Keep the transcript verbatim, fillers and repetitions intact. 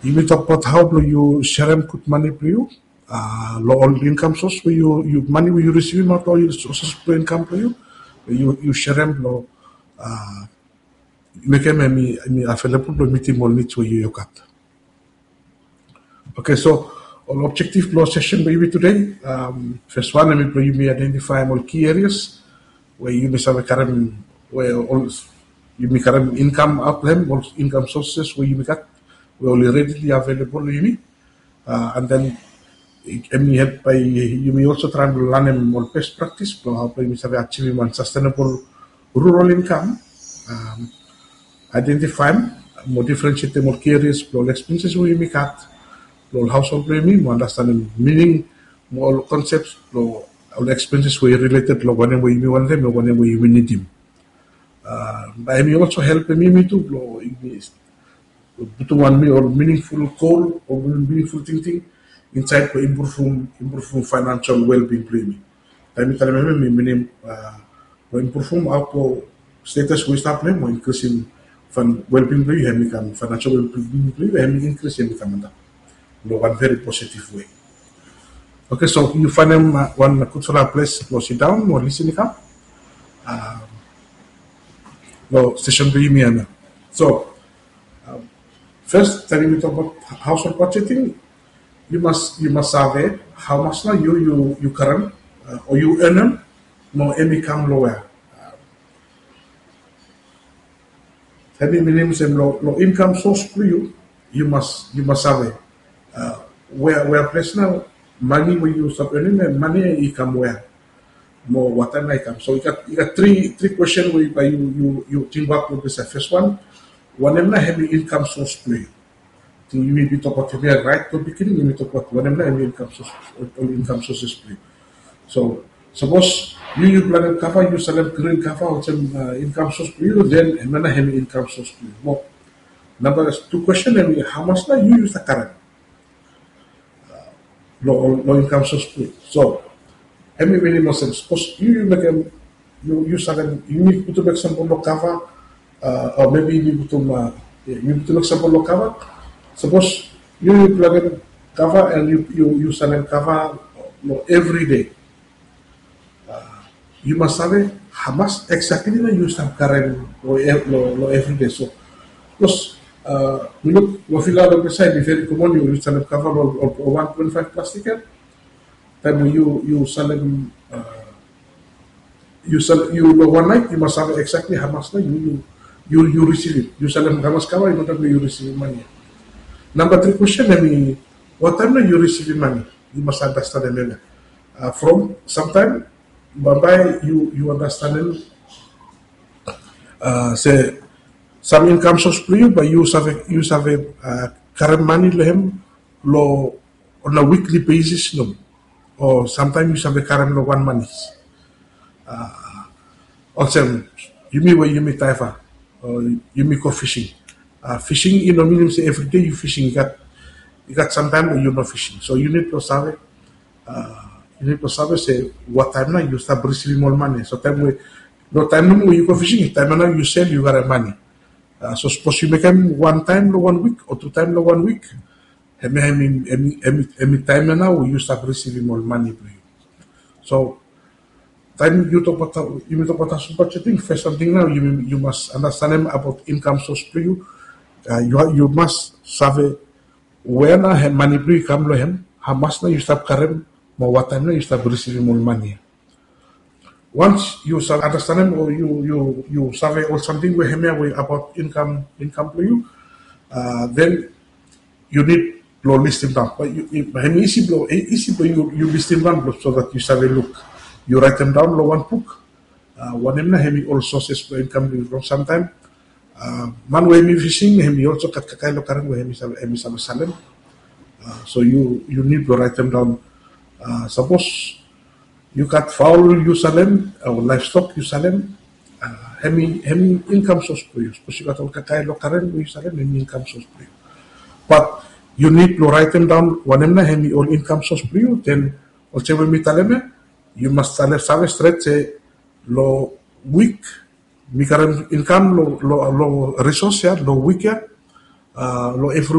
Yumi tokbaot hao blong yu serem gud mane blong yu, long ol inkam sos we yu, yu mane we yu risivim aot long ol sos blong inkam blong yu, yu, yu serem long, mekem hemi, hemi available blong mitim ol needs we yu, yu gat. Okay, so ol objective blong session blong yumi today, first one hemi blong yumi identify ol key areas we yumi save karem, we ol, yumi karem inkam aot long hem, ol inkam sources we yumi gat we oli readily available long yumi. And then hemi help by yumi also traem blong lanem ol best practice blong hao blong yumi save achievim wan sustainable rural income. Identify mo differentiate ol key areas blong ol expenses we yumi gat, blong ol household blong yumi, mo understandem meaning mo ol concepts blong ol expenses we related long wanem we yumi wantem, mo wanem we yumi nidim. Bae hemi also helpem yumi tu blong yumi putum wan ol meaningful goal o meaningful tingting insaed blong impruvum, impruvum financial well-being blong yumi. Taem mi talem hemia, mi minim blong impruvum hao blong status we yu stap long hem, mo inkrisim well-being blong yu, hemi kam financial well-being blong yu, hemi inkris, hemi kam antap long wan very positive way. Okay, so yu faenem wan gudfala ples blong sidaon mo lisin i kam long session blong yumi hemia. So first, taem yumi tokbaot household budgeting, yu mas, yu mas save hao mas nao yu, yu, yu karem o yu earnem, mo hemi kam long wea. Hemi minim olsem long, long inkam sos blong yu, yu mas, yu mas save wea, wea ples nao mane we yu stap earnem ia, mane i kam wea, mo wataem nao i kam. So i gat, i gat tri, tri kwestin we bae yu, yu, yu tingbaot long disaed. First one, wanem nao hemi inkam sos blong yu? Ting yumi bin tokbaot hemia raet long beginning, yumi tokbaot wanem nao hemi inkam sos, ol inkam sources blong yu. So sapos yu, yu planem kava, yu salem grin kava olsem inkam sos blong yu, then hemia nao hemi inkam sos blong yu. Mo namba tu kwestin hemi, hao mas nao yu, yu stap karem long, long inkam sos blong yu? So hemi minim olsem, sapos yu, yu mekem, yu, yu salem, yumi putum eksampol long kava, o maybe yumi putum, yumi putum eksampol long kava. Sapos yu, yu planem kava and yu, yu, yu salem kava long evri dei, yu mas save hao mas exactly nao yu stap karem long, long, long evri dei. So sapos mi luk long Vila long disaed, i very common yu, yu salem kava long ol, ol wan twenty-five plastik ia. Taem we yu, yu salem, yu sal, yu long wan naet yu mas save exactly hao mas nao yu, yu, yu risivim. Yu salem hao mas kava, i maen taem we yu risivim mane ia. Namba tri kwestin hemi, wataem nao yu risivim mane? Yu mas andastanem hemia. From samtaem bambae yu, yu andastanem se sam inkam sos blong yu bae yu save, yu save karem mane long hem long on a weekly basis nomo, o samtaem yu save karem long wan manis. Olsem yumi we yumi diver o yumi go fishing. Fishing i no minim se evri dei yu fishing. I gat, i gat samtaem we yu no fishing. So yu nid blong save, yu nid blong save se wataem nao yu stap risivim ol mane. So taem we, long taem nomo we yu go fishing, taem ia nao yu sel, yu karem mane. So sapos yu mekem wan taem long wan wik o tu taem long wan wik, hemia hemi, hemi, hemi taem ia nao we yu stap risivim ol mane blong yu. So taem yu tokbaot, yumi tokbaot household budgeting, first samting nao yu, yu mas andastanem abaot inkam sos blong yu. Yu, yu mas save wea nao hem, mane blong yu i kam long hem, hao mas nao yu stap karem, mo wataem nao yu stap risivim ol mane ia. Once yu save andastanem o yu, yu, yu save ol samting we hemia we abaot inkam, inkam blong yu, then yu nid blong listim daon. Bae hemi isi blong, isi blong yu, yu listim daon blong, so that yu save luk. Yu raetem daon long wan buk wanem nao hemi ol sources blong inkam blong yu. From samtaem man we hemi fishing hemi also gat kakae long karen we hemi save, hemi save salem. So yu, yu nid blong raetem daon. Sapos yu gat faol yu salem o livestock yu salem, hemi, hemi inkam sos blong yu. Sapos yu gat ol kakae long karen we yu salem, hemi inkam sos blong yu. Bat yu nid blong raetem daon wanem nao hemi ol inkam sos blong yu. Then olsem we mi talem ia, yu mas save, save stret se long wik mi karem inkam long, long, long resource ia, long wik ia, long evri